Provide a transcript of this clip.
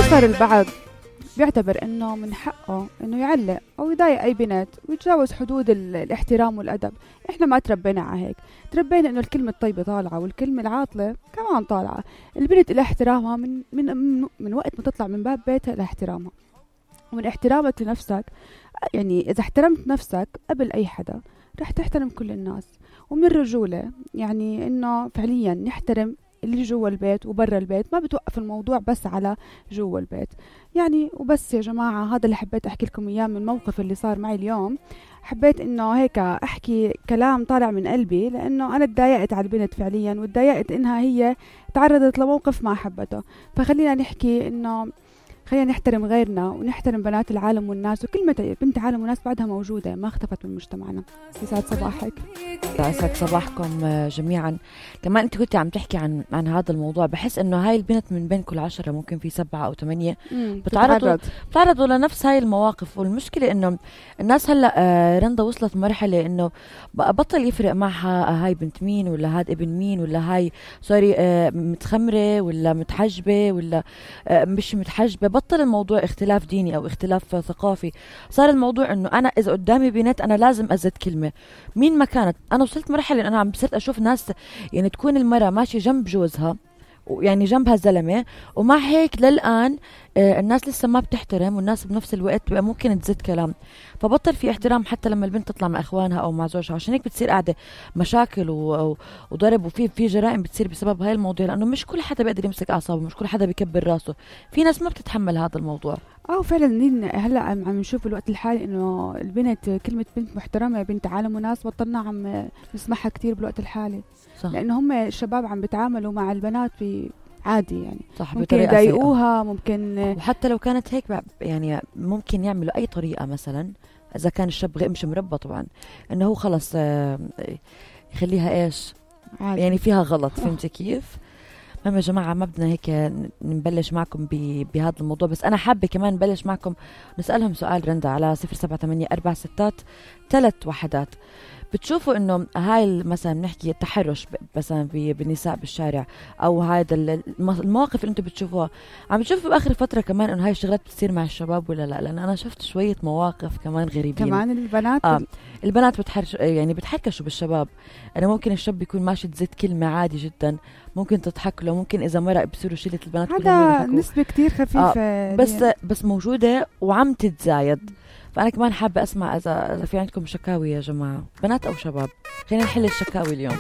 صار البعض بيعتبر انه من حقه انه يعلق او يضايق اي بنت ويتجاوز حدود الاحترام والادب. احنا ما تربينا على هيك، تربينا انه الكلمه الطيبه طالعه والكلمه العاطله كمان طالعه. البنت لها احترامها من وقت ما تطلع من باب بيتها لها احترامها، ومن احترامك لنفسك. يعني اذا احترمت نفسك قبل اي حدا رح تحترم كل الناس. ومن الرجوله يعني انه فعليا نحترم اللي جوا البيت وبرا البيت، ما بتوقف الموضوع بس على جوا البيت يعني. وبس يا جماعة، هذا اللي حبيت أحكي لكم إياه من الموقف اللي صار معي اليوم. حبيت إنه هيك أحكي كلام طالع من قلبي، لأنه أنا اتضايقت على البنت فعليا، واتضايقت إنها هي تعرضت لموقف ما حبته. فخلينا نحكي إنه خلينا نحترم غيرنا ونحترم بنات العالم والناس، وكلمة بنت عالم وناس بعدها موجودة ما اختفت من مجتمعنا. يسعد صباحك. يسعد صباحكم جميعا. كمان انت كنت عم تحكي عن هذا الموضوع، بحس انه هاي البنت من بين كل 10 ممكن في 7 أو 8 بتعرضوا لنفس هاي المواقف. والمشكلة انه الناس هلا رندا وصلت مرحلة انه بطل يفرق معها هاي بنت مين ولا هاد ابن مين ولا هاي سوري متخمرة ولا متحجبة ولا مش متحجبة. بطل الموضوع اختلاف ديني او اختلاف ثقافي، صار الموضوع انه انا اذا قدامي بنت انا لازم ازد كلمة مين ما كانت. انا وصلت مرحلة انا عم بصير اشوف ناس يعني تكون المرأة ماشية جنب جوزها يعني جنبها زلمة، ومع هيك للآن الناس لسه ما بتحترم، والناس بنفس الوقت بقى ممكن تزيد كلام. فبطل في احترام حتى لما البنت تطلع مع اخوانها او مع زوجها. عشان هيك بتصير قاعدة مشاكل وضرب وفي جرائم بتصير بسبب هاي الموضوع، لانه مش كل حدا بيقدر يمسك اعصابه، مش كل حدا بيكبر راسه. في ناس ما بتتحمل هذا الموضوع. فعلا هلا عم نشوف الوقت الحالي انه البنت كلمة بنت محترمة بنت عالم وناس بطلنا عم نسمعها كتير بالوقت الحالي. صح. لانه هم الشباب عم بيتعاملوا مع البنات عادي يعني. صح، ممكن يضايقوها ممكن، وحتى لو كانت هيك يعني ممكن يعملوا اي طريقة. مثلا اذا كان الشاب مش مربى طبعا انه هو خلص يخليها ايش عادي. يعني فيها غلط. فهمتي كيف؟ المهم يا جماعة ما بدنا هيك نبلش معكم بهذا الموضوع، بس أنا حابة كمان نبلش معكم نسألهم سؤال رندا على 078-463-1. بتشوفوا إنه هاي مثلا نحكي التحرش مثلا بالنساء بالشارع، أو هذا المواقف اللي أنتم بتشوفوها، عم بتشوفوا بآخر فترة كمان إنه هاي الشغلات بتصير مع الشباب ولا لا؟ لأن أنا شفت شوية مواقف كمان غريبين. كمان البنات البنات يعني بتحركشوا بالشباب. أنا ممكن الشاب يكون ماشي تزيد كلمة عادي جدا، ممكن تضحك له، ممكن إذا مرق بصيروا شلة البنات هذا نسبة كتير خفيفة بس موجودة وعم تتزايد. فأنا كمان حابة أسمع إذا في عندكم شكاوي يا جماعة، بنات أو شباب. خلينا نحل الشكاوي اليوم.